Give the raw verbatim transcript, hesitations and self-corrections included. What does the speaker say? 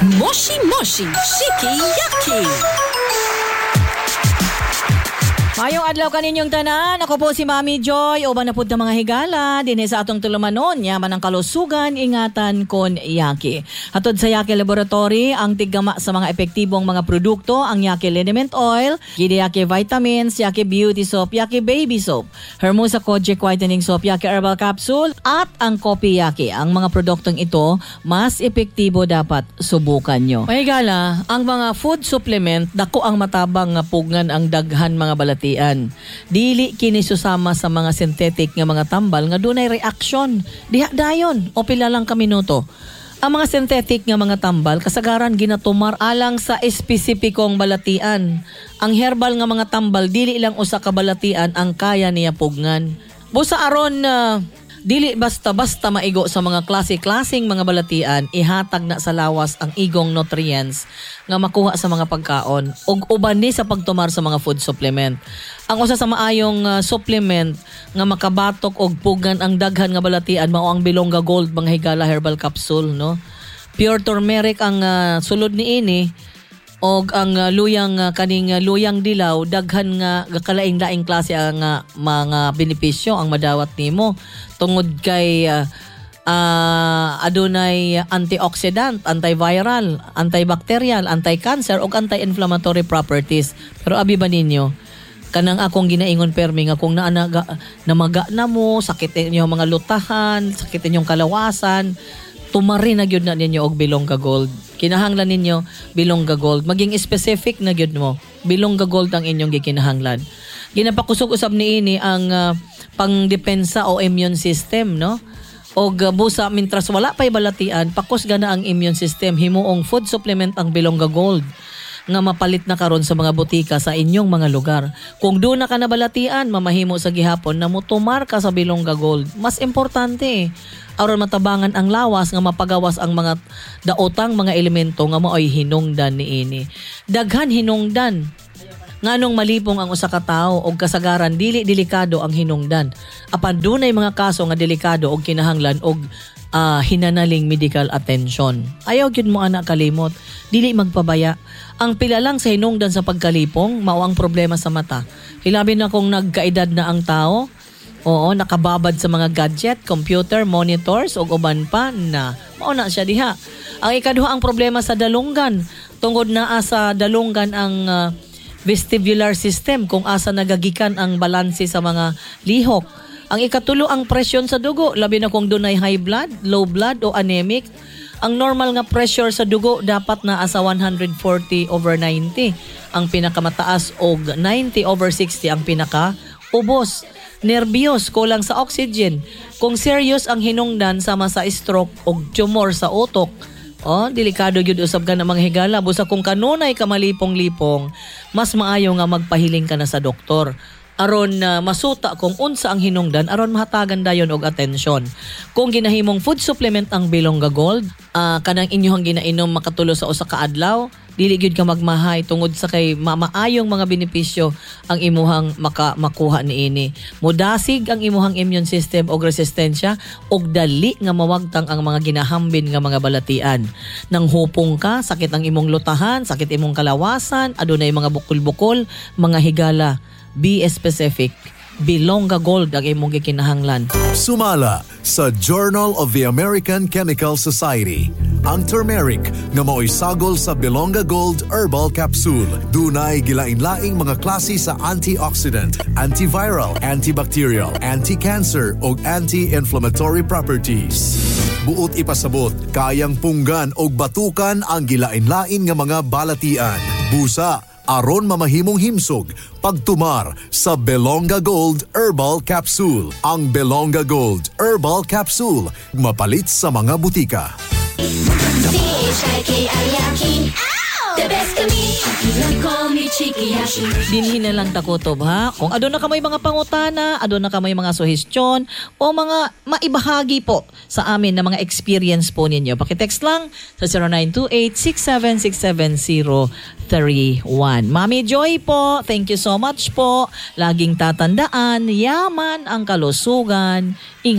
Moshi Moshi Shiki Yaki. Maayong adlaw kaninyong tanan. Ako po si Mami Joy. Uban na pud ta, mga higala dinhi sa atong tulumanon. Yaman ang kalusugan, ingatan kon Yaki. Hatod sa Yaki Laboratory, ang tiggama sa mga epektibong mga produkto, ang Yaki Liniment Oil, Gidi Yaki Vitamins, Yaki Beauty Soap, Yaki Baby Soap, Hermosa Kojic Whitening Soap, Yaki Herbal Capsule, at ang Kopi Yaki. Ang mga produktong ito, mas epektibo, dapat subukan nyo. Mga higala, ang mga food supplement, dako ang matabang nga pugngan ang daghan mga balatian. Dili kini susama sa mga synthetic nga mga tambal nga dunay reaction. Diha dayon o pila lang ka minuto. Ang mga synthetic nga mga tambal kasagaran ginatumar alang sa espesipikong balatian. Ang herbal nga mga tambal, dili lang usa ka balatian ang kaya niya pugnan. Busa aron uh, dili basta-basta maigo sa mga klase-klaseng mga balatian, ihatag na sa lawas ang igong nutrients nga makuha sa mga pagkaon ug uban ni sa pagtumar sa mga food supplement. Ang usa sa maayong uh, supplement nga makabatok og pugan ang daghan nga balatian mao ang Bilongga Gold, mga higala, herbal capsule, no. Pure turmeric ang uh, sulod niini og ang uh, luyang uh, kaning uh, luyang dilaw. Daghan nga kalaing-laing klase ang uh, mga benepisyo ang madawat nimo tungod kay uh, uh, adunay antioxidant, antiviral, antibacterial, anti-cancer ug anti-inflammatory properties. Pero abi ba ninyo kanang akong ginaingon permi nga kung naa namaga na mo, sakit inyong mga lutahan, sakit inyong kalawasan, tumari na gyud na ninyo og Bilongga Gold. Kinahanglan ninyo Bilongga Gold. Maging specific na gyud mo. Bilongga Gold ang inyong gikinahanglan. Ginapakusog usab niini ang uh, pangdepensa o immune system, no? Og uh, busa mintras wala pay balatian, pakusga na ang immune system. Himuong food supplement ang Bilongga Gold nga mapalit na karon sa mga botika sa inyong mga lugar. Kung duna ka na balatian, mamahimo sa gihapon na mutumar ka sa Bilongga Gold. Mas importante, aron matabangan ang lawas nga mapagawas ang mga daotang mga elemento nga maoy hinungdan niini. Daghan hinungdan nganong malipong ang usa ka tawo og kasagaran dili delikado ang hinungdan. Apan dunay mga kaso nga delikado og kinahanglan og uh, hinanaling medical attention. Ayaw gyud mo ana kalimot, dili magpabaya. Ang pila lang sa hinungdan sa pagkalipong mao ang problema sa mata. Hilabi na kung nagkaedad na ang tao. Oo, nakababad sa mga gadget, computer, monitors ug uban pa na. Mao na siya diha. Ang ikaduha, ang problema sa dalunggan. Tungod naa sa dalunggan ang uh, vestibular system kung asa nagagikan ang balanse sa mga lihok. Ang ikatulo, ang presyon sa dugo, labi na kung dunay high blood, low blood o anemic. Ang normal nga pressure sa dugo dapat naa sa one hundred forty over ninety ang pinakamataas og ninety over sixty ang pinaka ubos. Nerbyos, kulang sa oxygen. Kung serious ang hinungdan sama sa stroke o tumor sa utok, oh, delikado gyud usab ka na, mga higala. Busa kung kanunay ka malipong-lipong, mas maayo nga magpahiling ka na sa doktor aron uh, masuta kung unsa ang hinungdan aron mahatagan dayon og atensyon. Kung ginahimong food supplement ang Bilongga Gold, uh, kanang inyong ginainom makatulo sa usa ka adlaw, dili gyud ka magmahay tungod sa kay mamaayong mga benepisyo ang imuhang maka, makuha niini. Mudasig ang imuhang immune system og resistensya og dali nga mawagtang ang mga ginahambin nga mga balatian. Nang hupong ka, sakit ang imong lutahan, sakit imong kalawasan, adunay mga bukol-bukol, mga higala, be specific. Bilongga Gold ang imong gikinahanglan. Sumala sa Journal of the American Chemical Society, ang turmeric nga maoy sagol sa Bilongga Gold Herbal Capsule dunay gilain-laing mga klase sa antioxidant, antiviral, antibacterial, anti-cancer ug anti-inflammatory properties. Buot ipasabot, kayang punggan og batukan ang gilain-lain nga mga balatian. Busa, aron mamahimong himsog pagtumar sa Belonga Gold Herbal Capsule. Ang Belonga Gold Herbal Capsule, mapalit sa mga butika. C H I K I Yaki. The best kami. Call me Chikiyashi. Dinhi na lang takutob, ha. Kung aduna ka may mga pangutana, aduna ka may mga suhestyon o mga maibahagi po sa amin na mga experience po ninyo, paki-text lang sa zero nine two eight, six seven six seven zero three one. Mami Joy po, thank you so much po. Laging tatandaan, yaman ang kalusugan.